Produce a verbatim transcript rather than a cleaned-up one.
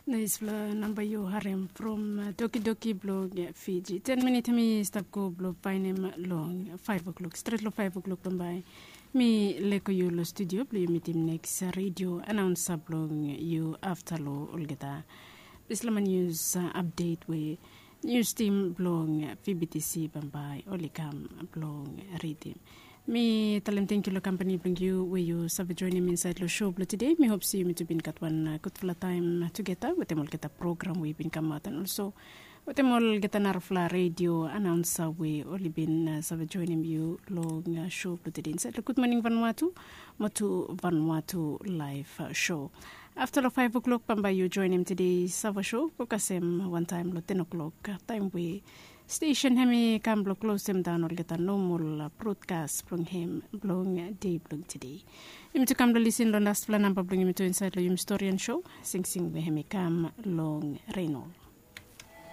Naispela namba yu harim from tokidoki blong Fiji. Ten minit mi stap go blong painim long five o'clock, stret long five o'clock bambae. Mi leko yu long studio blong yu mitim neks radio anaunsa blong yu afta long olgeta dispela man yus update we nius tim blong VBTC bambae oli kam blong ridim. Mi talem tenkyu long kampani blong yu we yu save joinim insait long show blong tude. Mi hop se yumi tu bin gat wan gudfala taem tugeta wetem olgeta program we i bin kamaot an olso wetem olgeta narafala redio anaunsa we oli bin save joinim yu long show blong tude insait long Gudmoning Vanuatu mo tu Vanuatu laef show. Afta long five o'clock bambae yu joinim tude sava show go kasem wantaem long ten o'clock taem we stesen hem i kam blong klosem daon olgeta nomol brodkas blong hem blong dei blong tude. Yumi tu kam blong lisin long laspela namba blong yumi tu insait long yumi stori an show, singsing we hem i kam long renol.